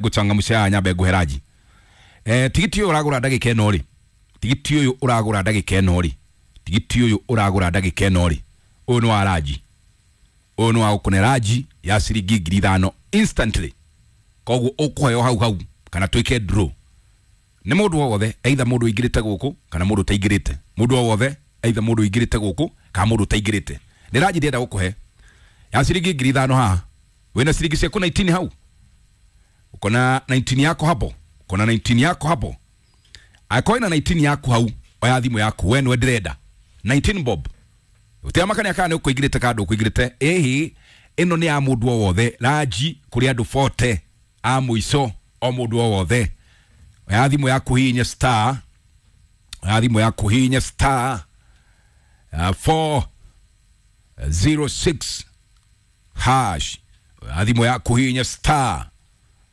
Ngũcangamucia nyambe ngũhe ranji. Tigiti ũyũ ũragũra ndagĩka ĩno rĩ, tigiti ũyũ ũragũra ndagĩka ĩno rĩ, tigiti ũyũ ũragũra ndagĩka ĩno rĩ, ũyũ nĩ wa ranji, ũyũ nĩ wa gũkũne ranji ya ciringi 5,000 instantly. Koguo ũkũheo hau hau kana twĩke draw. Nĩ mũndũ o wothe, either mũndũ ũingĩrĩte gũkũ kana mũndũ ũtaingĩrĩte. Mũndũ o wothe, either mũndũ ũingĩrĩte gũkũ kana mũndũ ũtaingĩrĩte. Nĩ ranji ndĩrenda gũkũhe ya ciringi 5,000 haha. Wĩna ciringi ciaku 19 hau, uko na 19 yako hapo, uko na 19 yako hapo. Akorwo ina 19 yaku hau, oya thimũ yaku, we nĩwe ndĩrenda 19 bob. Ũtiramakania kana nĩ ũkũingĩrĩte kana ndũkũingĩrĩte. Ĩhĩ, ĩno nĩ ya mũndũ o wothe, ranji kũrĩ andũ 40 a mũico, o mũndũ o wothe. Oya thimũ yaku hihinya star, oya thimũ yaku hihinya star 406 hash. Oya thimũ yaku hihinya star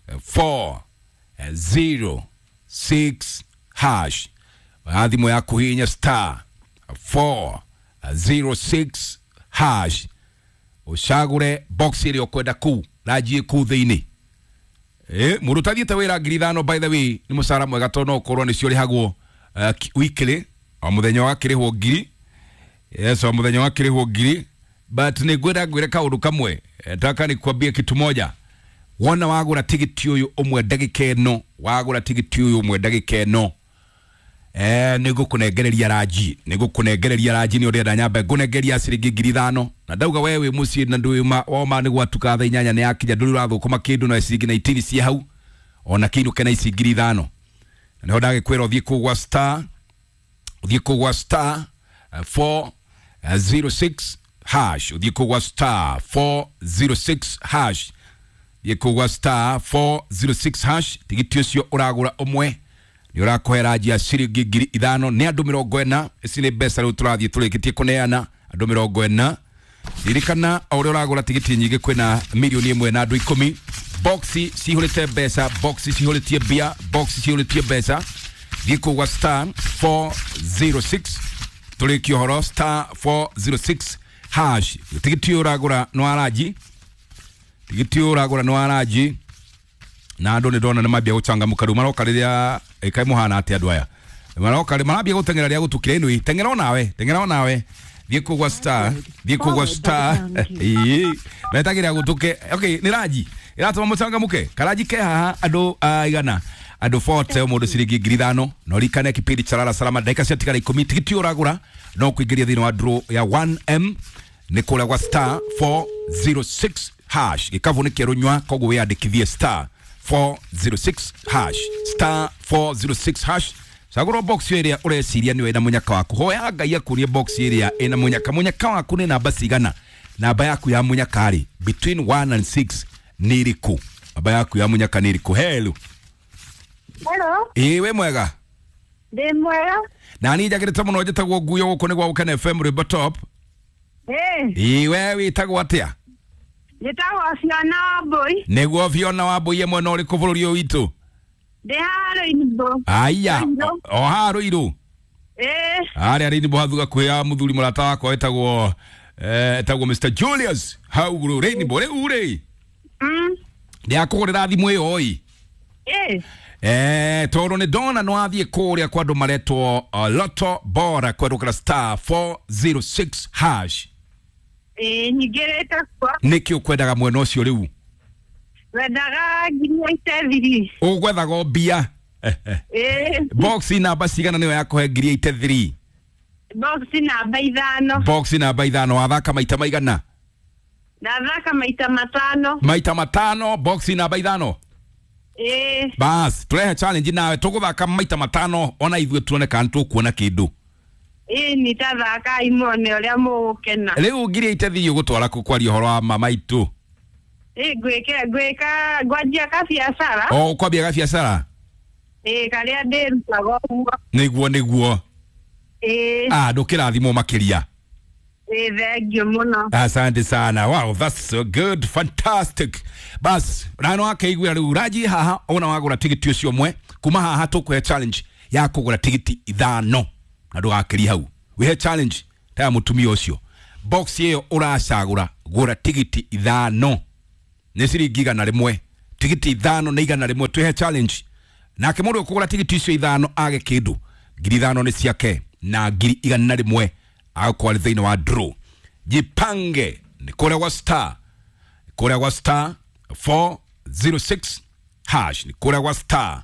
406 hash. Oya thimũ yaku hihinya star 406 hash, ũcagũre box ĩrĩa ũkwenda kũu ranji ĩ kũu thĩinĩ. Mũndũ ũtathiĩte wĩra 5,000, by the way, nĩ mũcara mwega tondũ no ũkorwo nĩcio ũrĩhagwo weekly, o mũthenya ũgakĩrĩhwo ngiri. Yes, o mũthenya ũgakĩrĩhwo ngiri. But nĩ ngwenda ngwĩre kaũndũ kamwe. Nataka nikwambie kitu moja. Wona wagũra tigiti ũyũ ũmwe ndagĩka ĩno, wagũra tigiti ũyũ ũmwe ndagĩka ĩno, nĩ ngũkũnengereria ranji, nĩ ngũkũnengereria ranji. Nĩ ũrenda nyambe ngũnengeria ciringi 5,000. Na ndauga we wĩ mũciĩ na ndũĩ woma nĩ gwatuka thaa 8 nĩ yakinya, ndũrĩ ũrathũkũma kĩndũ na ciringi 19 ciĩ hau, ona kĩinũke na ici 5,000. Na nĩho ndagĩkwĩra ũthiĩ kũu gwa star, ũthiĩ kũu gwa star 406 hash, ũthiĩ kũu gwa star 406 hash, thiĩ kũu gwa star 406 hash. Tigiti ũcio ũragũra ũmwe nĩ ũrakũhe ranji ya ciringi 5,000. Nĩ andũ 40. Ici nĩ mbeca rĩu tũrathiĩ tũrĩkĩtie kũneana andũ 40. Ririkana o ũrĩa ũragũra tigiti nyingĩ, kwĩna 1,000,000 na andũ 10. Boxi cihũrĩte mbeca, boxi cihũrĩtie mbia, boxi cihũrĩtie mbeca. Thiĩ kũu gwa star 406, tũrĩkie ũhoro, star 406 hash. Tigiti ũyũ ũragũra nĩ wa ranji, tigiti ũyũ ũragũra nĩ wa ranji. Na andũ nĩ ndona nĩ mambia gũcangamũka rĩu, maroka rĩrĩa ĩkaĩ mũhana atĩa andũ aya maroka marambia gũteng'era rĩrĩa gũtukire. Ĩnũi teng'era onawe, teng'era onawe, thiĩ kũu gwa star, thiĩ kũu gwa star. Ĩĩ, metagĩrĩra gũtuke. Okay, nĩ ranji ĩratũma mũcangamũke. Karanji ke haha andũ aigana? Andũ 40, o mũndũ ciringi 5,000. Na ũririkane kipindi cha Lala Salama ndagĩka ciatigara 10. Tigiti ũyũ ũragũra no kũingĩria thĩinĩ wa draw ya 1M nĩ kũrĩa gwa star 406 hash. Gĩkabũ nĩ kĩerũ nyua, koguo wĩyandĩkithie star 406 hash, star 406 hash. Cagũra box ĩrĩa ũreciria nĩyo ĩna mũnyaka waku. Hoya Ngai akũrie box ĩrĩa ĩna mũnyaka. Mũnyaka waku nĩ namba cigana? Namba yaku ya mũnyaka rĩ, between 1 and 6 nĩ ĩrĩkũ? Namba yaku ya mũnyaka nĩ ĩrĩkũ? Hello. Hello. Ĩĩ, wĩ mwega? Ndĩ mwega. Na niĩ njagĩrĩte mũno. Njĩtagwo Nguyo, gũkũ nĩ gwa Gũkena FM, rwĩmbo top. Ĩĩ. Ĩĩ, we wĩtagwo atĩa? Njĩtagwo Fiona Wambui. Nĩguo Fiona Wambui, mwena ũrĩkũ bũrũri ũyũ witũ? Ndĩ haha Rũinbo. Aya. Rũirũ. O haha Rũirũ? Ĩĩ. Harĩa Rainbow hathu gakuhĩ ya mũthuri mũrata wakwa wĩtagwo etagwo Mr Julius hau Rainbow. Rĩu rĩ, ndĩrakũgũrĩra thimũ ĩyo ĩ. Ĩĩ. Tondũ nĩ ndona nĩ wathiĩ kũrĩa kwa andũ maretwo Lotto Bora kwerũkĩra star 406 hash. Ĩĩ, nyingĩrĩte kuo. Nĩkĩ ũkwendaga mwena ũcio rĩu? Wendaga 83,000. Ũgwethaga o mbia. Ĩĩ. Box namba cigana nĩyo yakũhe 83,000? Box namba 5. Box namba 5. Wathaka maita maigana? Ndathaka maita 5. Maita 5, box namba 5. Ĩĩ. Bas, tũrehe challenge nawe, tũgũthaka maita 5 ona ithuĩ tuone kana tũkuona kĩndũ. Ĩĩ, nitathaka imone ũrĩa mũgũkena. Rĩu 83,000 ũgũtwara kũ kwaria ũhoro wa mama itũ? Ĩĩ, ngwĩke ngwĩka ngwanjia kabiacara. O ũkwambia gabiacara? Ĩĩ, karĩa ndĩrutaga ũguo. Nĩguo, nĩguo. Ĩĩ. Ah, ndũkĩrathimwo makĩria. Ĩĩ, thengiũ mũno. Asante sana. Wow, that's so good. Fantastic. Bas, na no akeiguira rĩu ranji haha ona wagũra tigiti ũcio ũmwe. Kuma haha tũkũhe challenge ya kũgũra tigiti 5 na ndũgakĩrie hau. Wĩhe challenge ta ya mũtumia ũcio. Box ĩyo ũracagũra, gũra tigiti 5 nĩ ciringi 100. Tigiti 5 na 100 twihe challenge. Nake mundu ukugura tigiti icio 5 age kindu 5,000 ni ciake na 100,000 agakorwo arĩ thĩinĩ wa draw. Jipange ni kũrĩa gwa star, kũrĩa gwa star 406 hash, ni kũrĩa gwa star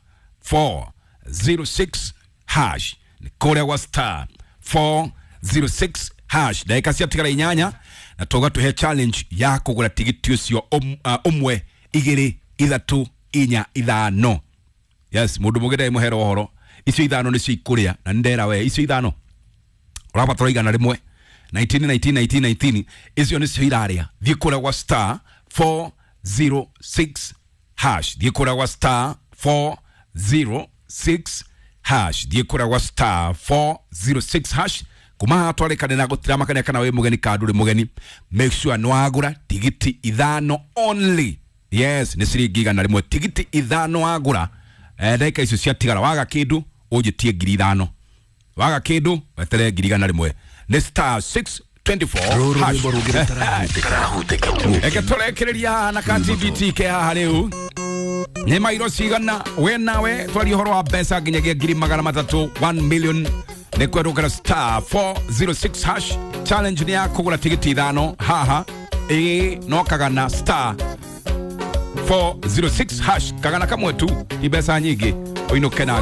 406 hash, ni kũrĩa gwa star 406 hash. Ndagĩka ciatigara 8 na tũga tũhe challenge ya kũgũra tigiti ũcio ũmwe 2 3 4 5. Yes, mũndũ mũgĩ ndarĩ mũhero ũhoro. Icio 5 nĩcio ikũrĩa na nĩndera we icio 5 ũrabatara 100 19 19 19 19 icio nĩcio irarĩa. Thiĩ kũrĩa gwa star 406 hash, thiĩ kũrĩa gwa star 406 hash, thiĩ kũrĩa gwa star 406 hash. Kuma haha twarĩkane na gũtiramakania kana wĩ mũgeni kana ndũrĩ mũgeni, make sure nĩ wagũra tigiti 5 only. Yes, nĩ ciringi 100 tigiti 5 wagũra. Ndagĩka icio ciatigara waga kĩndũ ũnjĩtie 5,000, waga kĩndũ weterere 100,000. Nĩ star 624 Rũrũ hash. rwĩmbo rũngĩ rũtarahutĩka. Reke tũrekereria haha na ka TBT ke haha rĩu nĩ mairo cigana we nawe twarie ũhoro wa mbeca nginyagia 300,000 1 million nĩ kwerũkĩra star 406 hash. Challenge nĩ ya kũgũra tigiti 5 haha ĩĩ no kagana star 406 hash kagana kamwe tu ti mbeca nyingĩ ũinũke na